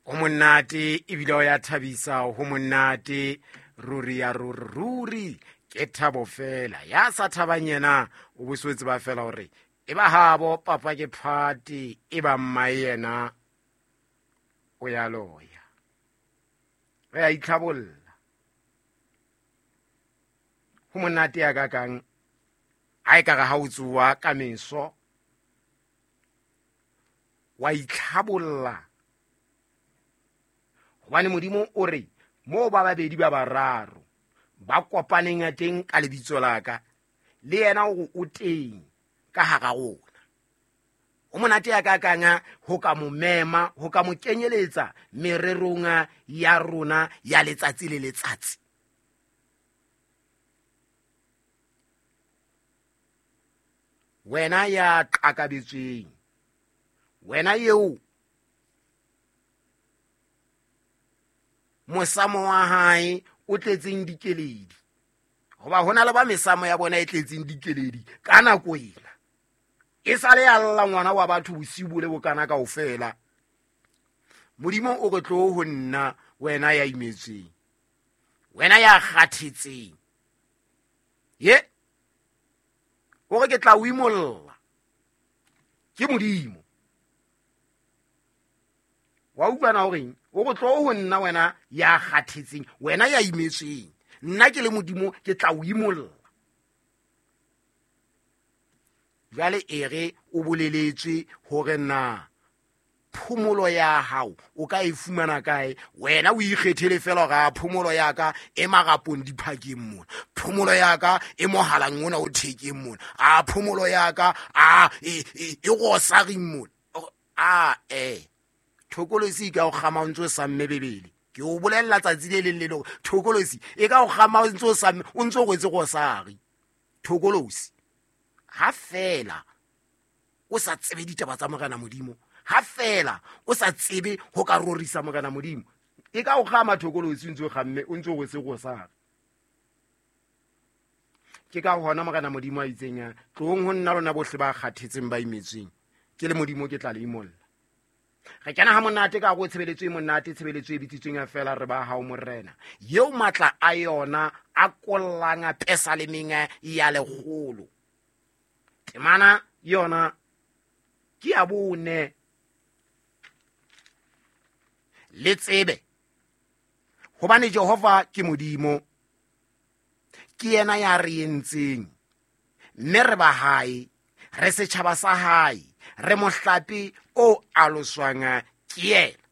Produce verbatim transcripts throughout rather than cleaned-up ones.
Ho monate ebile o ya thabisa, ho monate ruri ya ruri ruri ke thabo fela. Ya sa thabang yena o bo tseba fela hore e ba habo papa ke phati e ba mma yena o ya loya. Re a itlhabolla. Ho monate ya ka kang ha e ka re ha o tsoha ka meso wa itlhabolla. Hobane Modimo o re moo ba babedi ba bararo ba kopaneng teng ka lebitso la ka, le yena o o teng ka hara rona. Ho monate ya ka kang ho ka mo mema, ho ka mo kenyeletsa mererong ya rona ya letsatsi le letsatsi. Wena ya qakabetsweng, wena eo mosamo wa hae o tletseng dikeledi, hoba hona le ba mesamo ya bona e tletseng dikeledi ka nako ena. E sale ya lla ngwana wa batho bosiu bo le bokana kaofela. Modimo o re tlo ho nna, wena ya imetsweng, wena ya kgathetseng, ye o re ke tla o imolla. Ke Modimo wa utlwana horeng o re tlo ho nna, wena ya kgathetseng, wena ya imetsweng, nna ke le Modimo ke tla o imolla. Jwale e re o boleletswe hore na phomolo ya hao o ka e fumana kae. Wena o ikgethele fela hore a phomolo ya ka e marapong diphakeng mona, phomolo ya ka e mohalang ona o thekeng mona, a phomolo ya ka a e e rosaring mona. A e thokolosi e ka o kgama o ntso samme bebele. Ke o bolella tsatsi le leng le leng thokolosi e ka o kgama o ntso samme, o ntso rwetse rosari. Thokolosi ha fela o sa tsebe ditaba tsa Morena Modimo, ha fela o sa tsebe ho ka rorisa Morena Modimo, e ka o kgama thokolosi o ntso kgamme, o ntso rwetse rosari. Ke ka hona Morena Modimo a itseng, tlohong ho nna lona bohle ba kgathetseng ba imetsweng, ke le Modimo ke tla le imolla. Re kena ha monate ka go tshebeletso e monate, tshebeletso e bitsitsweng fela re ba hao Morena, eo matla a yona a kollang a pesalemeng ya lekgolo. Temana yona ke ya bone. Le tsebe hobane Jehova ke Modimo, ke yena ya re entseng, mme re ba hae, re setjhaba sa hae, re mohlape o aloswang ke yena.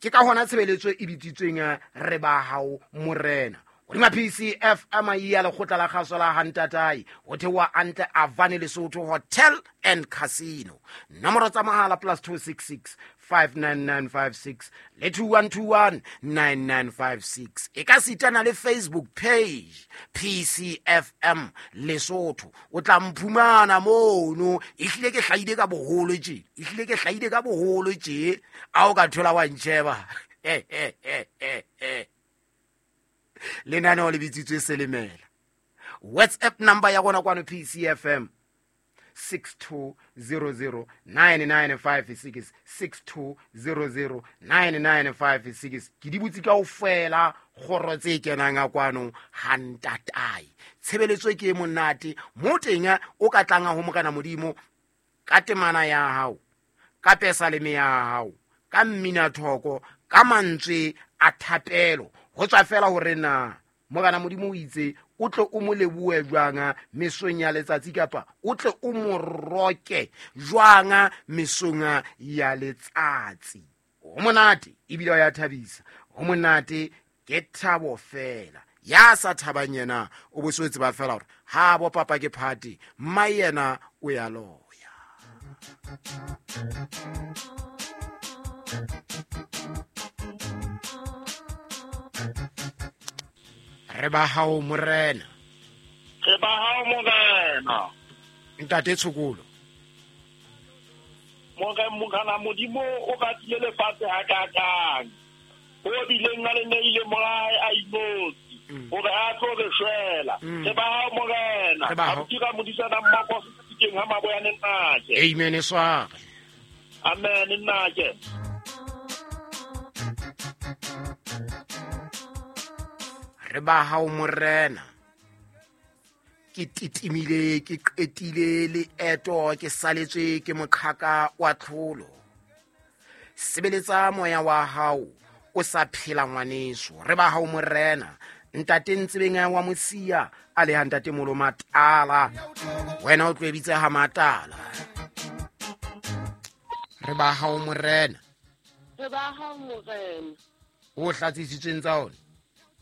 Ke ka hona tshebeletso e bitsitsweng re ba hao Morena. Hodima P C F M ya lekgotla la kgaso la Hantatai, ho theoha Antle Avane Lesotho Hotel and Casino. Nomoro tsa mohala plus two six six five nine nine five six le two one two one nine nine five six. E ka sitana le Facebook page P C F M Lesotho. O tla mphumana mono. Ehlile ke hlahile ka boholo tje, ehlile ke hlahile ka boholo tje. A o ka thola wa ntjheba. Eh eh eh eh eh. Lenaneo le bitsitswe Selemela. WhatsApp number ya rona kwano P C F M six two zero zero nine nine five six, six two zero zero nine nine five six. Ke di butse kaofela kgoro tse kenang a kwano Hantatai. Tshebeletso ke e monate mo teng o ka tlang ho Morena Modimo ka temana ya hao, ka pesaleme ya hao, ka mmina thoko, ka mantswe a thapelo. Ho tswa fela hore na Morena Modimo o itse o tle o mo lebohe jwang mesong ya letsatsi, kapa o tle o mo roke jwang mesong ya letsatsi. Ho monate ebile o ya thabisa, ho monate ke thabo fela. Ya sa thabang yena o bo se tseba fela hore ha bo papa ke phati, mma yena o ya loya. Re ba hao Morena, re ba hao Morena. Ntate Tshokolo, Morena Morena Modimo o ratile lefatshe hakakang, o bileng a le neile morae a inotsi hore a tlo re shwela. Re ba hao Morena, a dira modisana mmogo sekeng ha maboyane nnake. Amen e sware. Amen nnake. Re ba hao morena. Ke titimile, ke qetile leeto, ke saletswe ke moqhaka wa tlholo. Sebeletsa moya wa hao o sa phela ngwaneso. Re ba hao morena. Ntate Ntsebeng wa Mosia a le ha ntate Molo Matala. Wena o tlo bitsa ha Matala. Re ba hao morena. Re ba hao morena. O hlatsisitsweng tsa ona.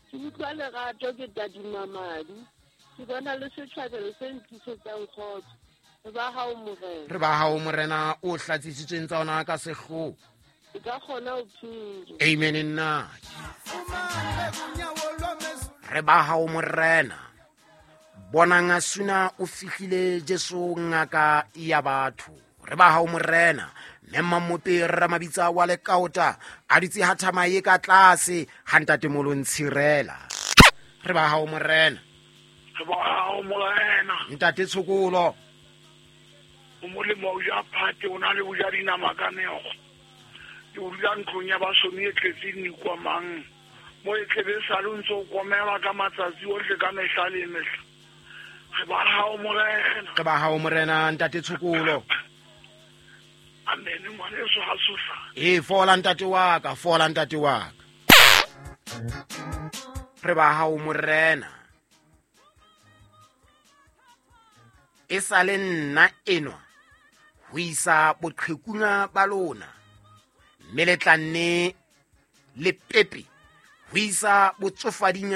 Ke utlwa lerato ke tadima madi. Ke bona le setjhabelo se ntlisetsang kgotso. Re ba hao morena. Re ba hao morena o hlatsisitsweng tsa ona ka sehloho. Ke ka kgona ho phela. Amen nna. Re ba hao morena. Bonang a suna o fihlile Jesu ngaka ya batho. Re ba hao morena. Mme Mmope Ramabitsa wa Lekaota a ditse ha thamaye ka tlase ha ntate Molo Ntshirela. Re ba hao morena. Re ba hao morena. Ntate Tshokolo. O molemo o ja phate o na le o ja dinama ka meokgo. Ke o dula ntlong ya basomi e tletseng dikwamang. Mo e tlebe sa le ntse o komela ka matsatsi ohle ka mehla le mehla. Re ba hao morena. Re ba hao morena ntate Tshokolo. Amen ngwaneso ha sosa. E fola ntate wa ka, fola ntate wa ka. Re ba hao morena. E sa le nna enwa ho isa boqhekung ba lona. Mme le tla nne le pepe ho isa botsofading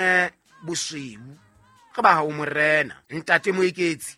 bosweu. Re ba hao morena. Ntate Moeketsi.